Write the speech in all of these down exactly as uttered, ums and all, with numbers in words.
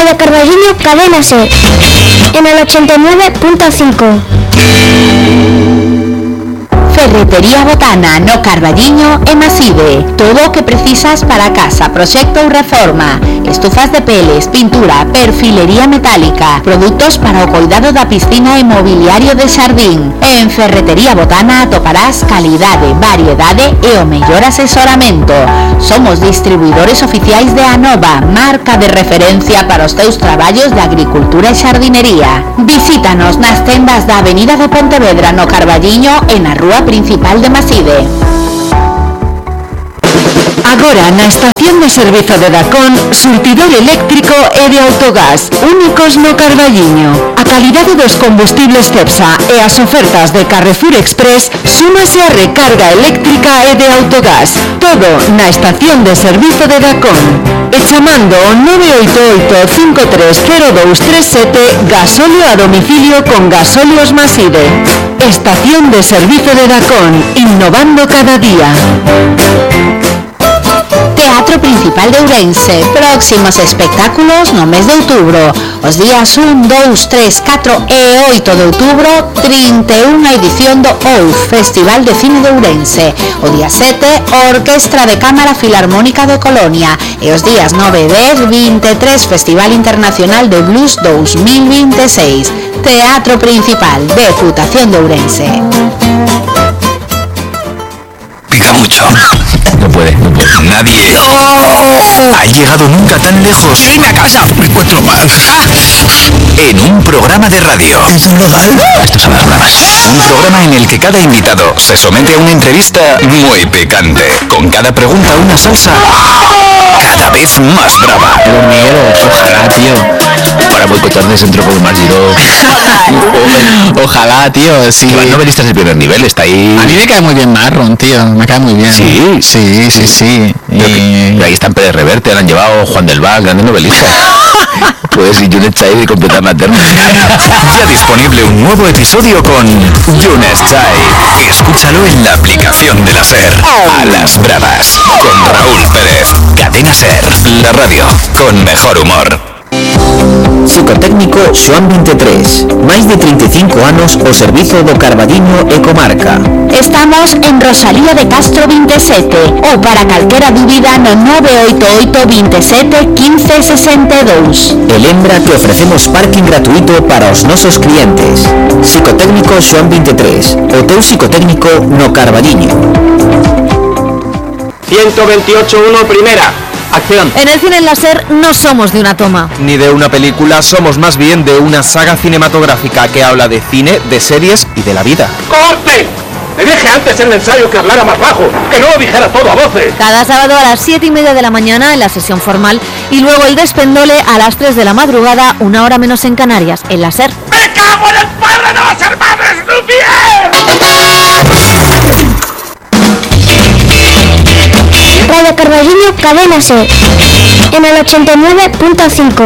Radio Carballiño, Cadena SER, en el ochenta y nueve punto cinco. Ferretería Botana no Carballiño e Maside. Todo o que precisas para casa, proxecto ou reforma. Estufas de peles, pintura, perfilería metálica, produtos para o cuidado da piscina e mobiliario de xardín. En Ferretería Botana atoparás calidade, variedade e o mellor asesoramento. Somos distribuidores oficiais de Anova, marca de referencia para os teus traballos de agricultura e xardinería. Visítanos nas tendas da Avenida de Pontevedra no Carballiño e na Rúa Principal de Maside. Agora na estación de servizo de Dacón, surtidor eléctrico e de autogás, únicos no Carballiño. A calidade dos combustibles Cepsa e as ofertas de Carrefour Express súmase a recarga eléctrica e de autogás. Todo na estación de servizo de Dacón. E chamando o nove oito oito, cinco tres cero dous tres sete, gasóleo a domicilio con Gasóleos Maside. Estación de servizo de Dacón, innovando cada día. Teatro Principal de Ourense. Próximos espectáculos no mes de outubro. Os días un, dous, tres, catro e oito de outubro, trinta e unha edición do O U F, Festival de Cine de Ourense. O día sete, Orquestra de Cámara Filarmónica de Colonia. E os días nove, dez, vinte e tres, Festival Internacional de Blues dos mil vinte e seis. Teatro Principal, Deputación de Ourense. Pica mucho. No puede, no puede. Nadie ¡Oh! ha llegado nunca tan lejos. ¡Irme a casa! Me encuentro mal. En un programa de radio. ¿Es legal? Esto son las bramas. Un programa en el que cada invitado se somete a una entrevista muy picante. Con cada pregunta una salsa cada vez más brava. Pero Miguel, ojalá, tío. Para boicotar de Centro Colmar Giró. Ojalá, tío. Sí. Que van novelistas de primer nivel, está ahí. A mí me cae muy bien Marron, tío. Me cae muy bien. Sí, sí, sí, sí. Pero Y... que, ahí están Pérez Reverte, le han llevado Juan del Val, grandes novelistas. Pues y Yunes Chai de completar la terna. Ya disponible un nuevo episodio con Yunes Chai. Escúchalo en la aplicación de la SER. A las bravas, con Raúl Pérez. Cadena SER, la radio con mejor humor. Psicotécnico Xoán veintitrés, máis de treinta e cinco anos ao servizo do Carballiño e comarca. Estamos en Rosalía de Castro veintisiete ou para calquera dúbida no nove oito oito, veintisiete, quince, sesenta e dous. E lembra que ofrecemos parking gratuito para os nosos clientes. Psicotécnico Xoán veintitrés, o teu psicotécnico no Carballiño. ciento veintiocho uno, primera. Acción. En el cine en la SER no somos de una toma. Ni de una película, somos más bien de una saga cinematográfica que habla de cine, de series y de la vida. ¡Corte! Le dije antes en el ensayo que hablara más bajo, que no lo dijera todo a voces. Cada sábado a las siete y media de la mañana en la sesión formal y luego el despendole a las tres de la madrugada, una hora menos en Canarias, en la SER. ¡Me cago en el padre de los hermanos Lumière! Radio Carballiño, Cadena SER, en el ochenta y nueve punto cinco.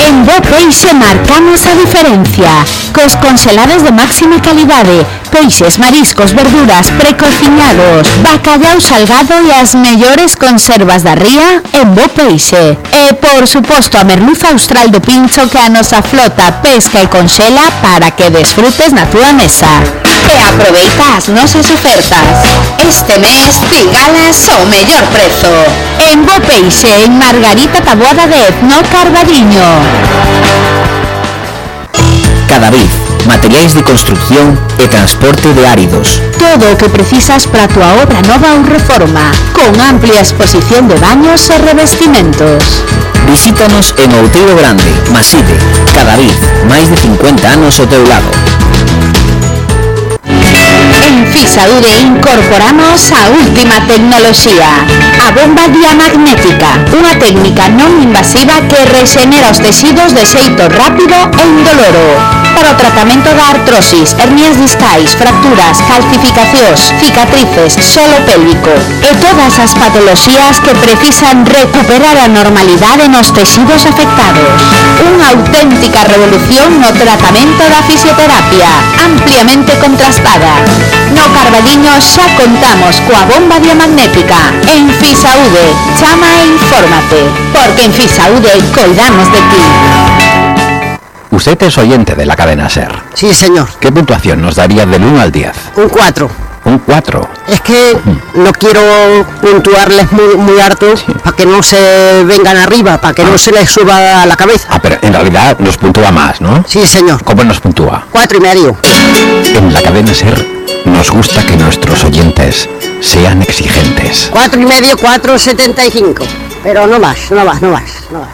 En Bo Peixe marcamos a diferencia. Cos congelados de máxima calidade, peixes, mariscos, verduras, precociñados, bacallau salgado e as mellores conservas da ría en Bo Peixe. E, por suposto, a merluza austral do pincho que a nosa flota pesca e conxela para que desfrutes na túa mesa. E aproveita as nosas ofertas. Este mes, pigalas ao mellor prezo. En Bo Peixe, en Margarita Taboada de no Carballiño. Cadavid, materiais de construcción e transporte de áridos. Todo o que precisas para a túa obra nova ou reforma, con amplia exposición de baños e revestimentos. Visítanos en Outeiro Grande, Maside. Cadavid, máis de cincuenta anos ao teu lado. En Fisaure incorporamos a última tecnoloxía, a bomba diamagnética, unha técnica non invasiva que rexenera os tecidos de xeito rápido e indoloro. para o tratamento da artrosis, hernias discais, fracturas, calcificacións, cicatrices, solo pélvico e todas as patoloxías que precisan recuperar a normalidade nos tecidos afectados. Unha auténtica revolución no tratamento da fisioterapia, ampliamente contrastada. No Carballiño xa contamos coa bomba diamagnética. En Fisaude, chama e infórmate, porque en Fisaude coidamos de ti. Usted es oyente de la cadena SER. Sí, señor. ¿Qué puntuación nos daría del uno al diez? Un cuatro. Un cuatro. Es que no quiero puntuarles muy, muy harto, sí, para que no se vengan arriba, para que ah. no se les suba a la cabeza. Ah, pero en realidad nos puntúa más, ¿no? Sí, señor. ¿Cómo nos puntúa? Cuatro y medio. En la cadena SER nos gusta que nuestros oyentes sean exigentes. Cuatro y medio, cuatro setenta y cinco. Pero no más, no más, no más, no más.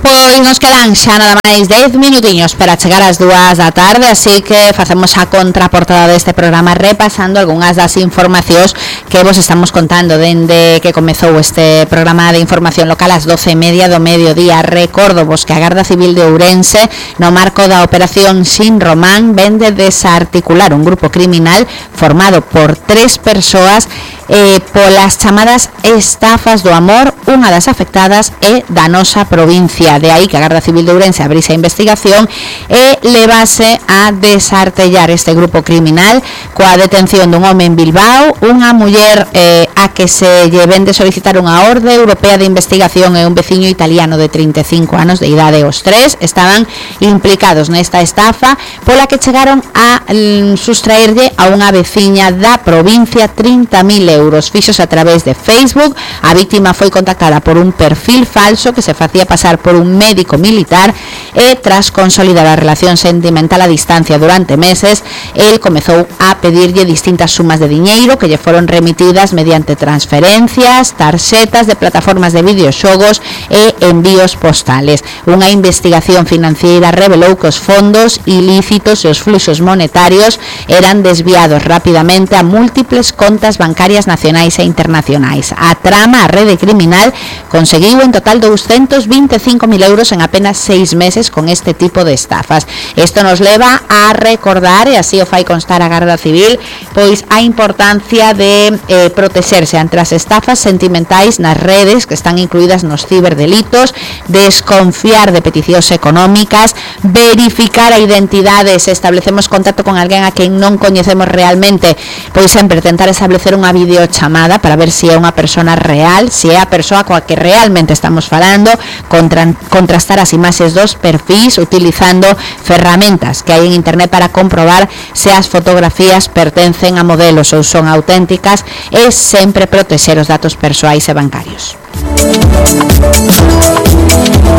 Pois nos quedan xa nada máis dez minutiños para chegar ás dúas da tarde, así que facemos a contraportada deste programa repasando algunhas das informacións que vos estamos contando dende que comezou este programa de información local ás doce e media do mediodía. Recordo vos que a Garda Civil de Ourense, no marco da operación Sin Román, vende desarticular un grupo criminal formado por tres persoas eh, polas chamadas estafas do amor. Unha das afectadas é da nosa provincia, de aí que a Garda Civil de Ourense abrise a investigación e levase a desartellar este grupo criminal coa detención dun home en Bilbao, unha muller eh, a que se lle vende solicitar unha orde europea de investigación e un veciño italiano de trinta e cinco anos de idade. Os tres estaban implicados nesta estafa pola que chegaron a mm, sustraerlle a unha veciña da provincia trinta mil euros fixos a través de Facebook. A víctima foi contactada por un perfil falso que se facía pasar por un médico militar e tras consolidar a relación sentimental a distancia durante meses, el comezou a pedirlle distintas sumas de diñeiro que lle foron remitidas mediante transferencias, tarxetas de plataformas de videoxogos e envíos postales. Unha investigación financiera revelou que os fondos ilícitos e os fluxos monetarios eran desviados rapidamente a múltiples contas bancarias nacionais e internacionais. A trama, a rede criminal, conseguiu en total doscientos veinticinco mil euros en apenas seis meses con este tipo de estafas. Isto nos leva a recordar, e así o fai constar a Garda Civil, pois a importancia de eh, protexerse ante as estafas sentimentais nas redes que están incluídas nos ciberdelitos, desconfiar de peticións económicas, verificar a identidade se establecemos contacto con alguén a quen non coñecemos realmente, pois sempre tentar establecer unha videochamada para ver se é unha persona real, se é a persoa coa que realmente estamos falando, contra, contrastar as imaxes dos perfis utilizando ferramentas que hai en internet para comprobar se as fotografías pertencen a modelos ou son auténticas e sempre protexer os datos persoais e bancarios.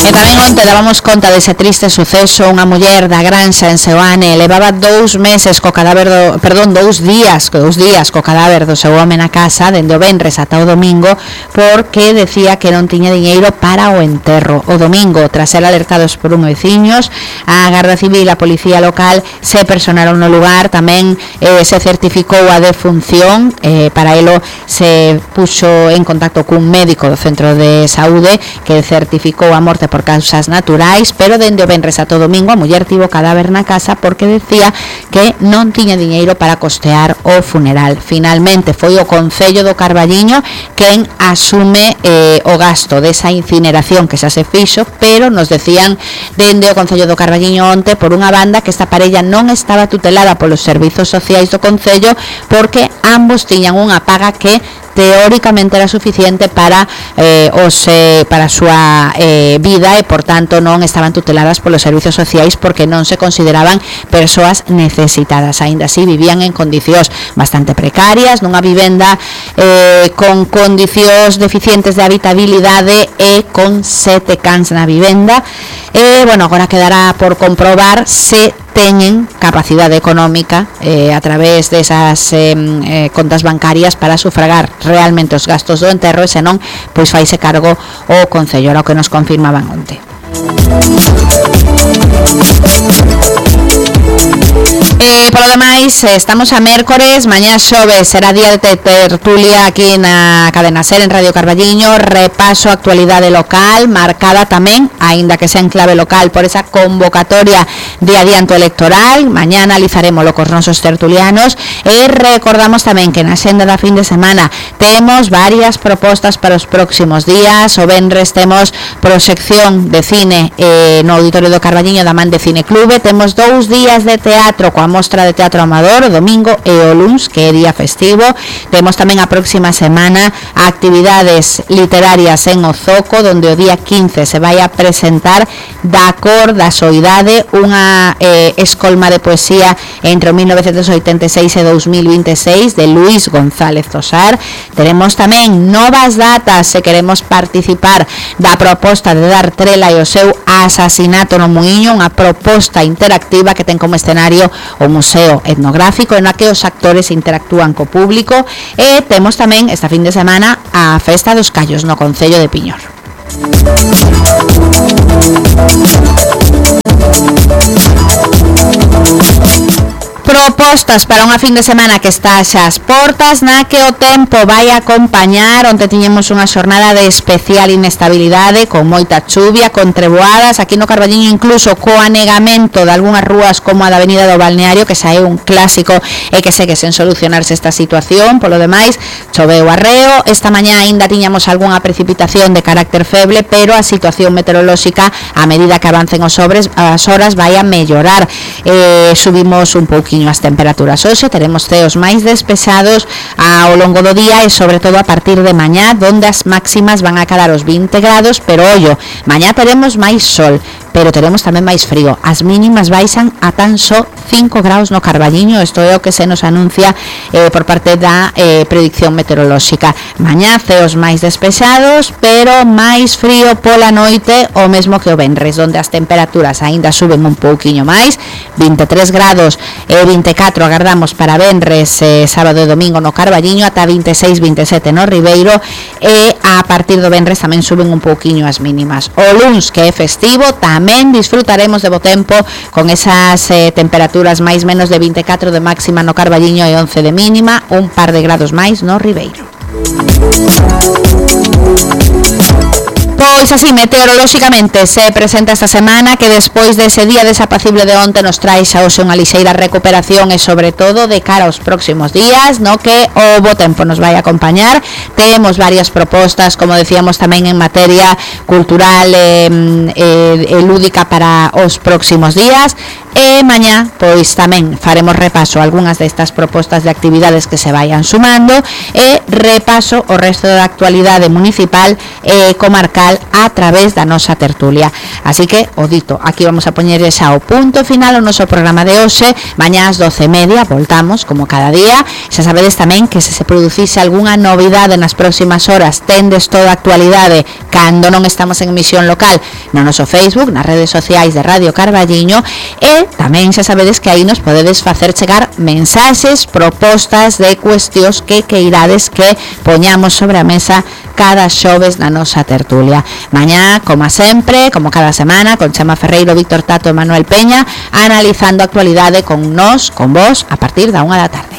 E tamén onte dábamos conta dese triste suceso. Unha muller da Granxa en Seoane levaba dous meses co cadáver do, perdón, dous días, dous días co cadáver do seu home na casa dende o venres ata o domingo porque decía que non tiña diñeiro para o enterro. O domingo, tras ser alertados por un veciños, a Garda Civil e a Policía Local se personaron no lugar, tamén eh, se certificou a defunción, eh, para elo se puxo en contacto cun médico do centro de saúde que certificou a morte por causas naturais, pero dende o venres ata o domingo a muller tivo cadáver na casa porque decía que non tiña diñeiro para costear o funeral. Finalmente foi o Concello do Carballiño quen asume eh, o gasto desa incineración que xa se fixo, pero nos decían dende o Concello do Carballiño onte, por unha banda, que esta parella non estaba tutelada polos servizos sociais do Concello porque ambos tiñan unha paga que teóricamente era suficiente para eh, os eh, para a súa eh, vida e por tanto non estaban tuteladas polos servizos sociais porque non se consideraban persoas necesitadas. Aínda así vivían en condicións bastante precarias nunha vivenda eh, con condicións deficientes de habitabilidade e con sete cans na vivenda. E, bueno, agora quedará por comprobar se teñen capacidade económica eh, a través desas eh, eh, contas bancarias para sufragar realmente os gastos do enterro e senón, pois faise cargo o Concello, era o que nos confirmaban onte. E, polo demais, tardes, estamos a mércores, mañá xoves será día de tertulia aquí na Cadena Ser en Radio Carballiño, repaso a actualidade local, marcada tamén, aínda que sea en clave local, por esa convocatoria de adianto electoral. Mañá analizaremos lo cos nosos tertulianos e recordamos tamén que na xenda da fin de semana temos varias propostas para os próximos días. O venres temos proxección de cine eh, no Auditorio do Carballiño da man de Cine Clube, temos dous días de teatro coa mostra de teatro amador o domingo e o luns, que é día festivo. Temos tamén a próxima semana actividades literarias en o Zoco, donde o día quince se vai a presentar Da cor da soidade, unha eh, escolma de poesía entre o mil novecentos oitenta e seis e dos mil vinte e seis de Luis González Tosar. Teremos tamén novas datas se queremos participar da proposta de dar trela e o seu asasinato no Muiño, unha proposta interactiva que ten como escenario o Museo Etnográfico en la que os actores interactúan co público. E temos tamén esta fin de semana a Festa dos Callos no Concello de Piñor. Propostas para unha fin de semana que está xa as portas, na que o tempo vai acompañar. Onte tiñemos unha xornada de especial inestabilidade con moita chuvia, con treboadas aquí no Carballiño, incluso co anegamento de algunhas rúas como a da Avenida do Balneario, que xa é un clásico e que segue sen solucionarse esta situación. Polo demais, choveu arreo. Esta mañá aínda tiñamos algunha precipitación de carácter feble, pero a situación meteorolóxica a medida que avancen os sobres, as horas vai a mellorar. Eh, subimos un pouquinho as temperaturas. Hoxe teremos ceos máis despexados ao longo do día e sobre todo a partir de mañá, donde as máximas van a cadar os vinte grados, pero ollo, mañá teremos máis sol, pero teremos tamén máis frío. As mínimas baixan a tan só cinco graus no Carballiño. Isto é o que se nos anuncia eh, por parte da eh, predicción meteorolóxica. Mañá ceos máis despexados, pero máis frío pola noite, o mesmo que o venres, donde as temperaturas aínda suben un pouquiño máis, vinte e tres grados e vinte e catro agardamos para venres, eh, sábado e domingo no Carballiño, ata vinte e seis, vinte e sete no Ribeiro, e a partir do venres tamén suben un pouquiño as mínimas. O luns, que é festivo, tamén disfrutaremos de bo tempo con esas eh, temperaturas máis menos de vinte e catro de máxima no Carballiño e once de mínima, un par de grados máis no Ribeiro. Pois así, meteorolóxicamente se presenta esta semana que despois dese día desapacible de onte nos trae xa hoxe unha lixeira recuperación e sobre todo de cara aos próximos días, no que o bo tempo nos vai a acompañar. Temos varias propostas, como decíamos, tamén en materia cultural e, e, e lúdica para os próximos días. E mañá, pois tamén faremos repaso a algunhas destas propostas de actividades que se vayan sumando e repaso o resto da actualidade municipal e comarcal a través da nosa tertulia. Así que, o dito, aquí vamos a poñer xa o punto final ao noso programa de hoxe. Mañá ás doce e media voltamos, como cada día. Xa sabedes tamén que se se producise algunha novidade nas próximas horas, tendes toda a actualidade cando non estamos en emisión local no noso Facebook, nas redes sociais de Radio Carballiño, e tamén xa sabedes que aí nos podedes facer chegar mensaxes, propostas de cuestións que queirades que poñamos sobre a mesa cada xoves na nosa tertulia. Mañá, como sempre, como cada semana, con Chema Ferreiro, Víctor Tato e Manuel Peña, analizando a actualidade con nós, con vos, a partir da unha da tarde.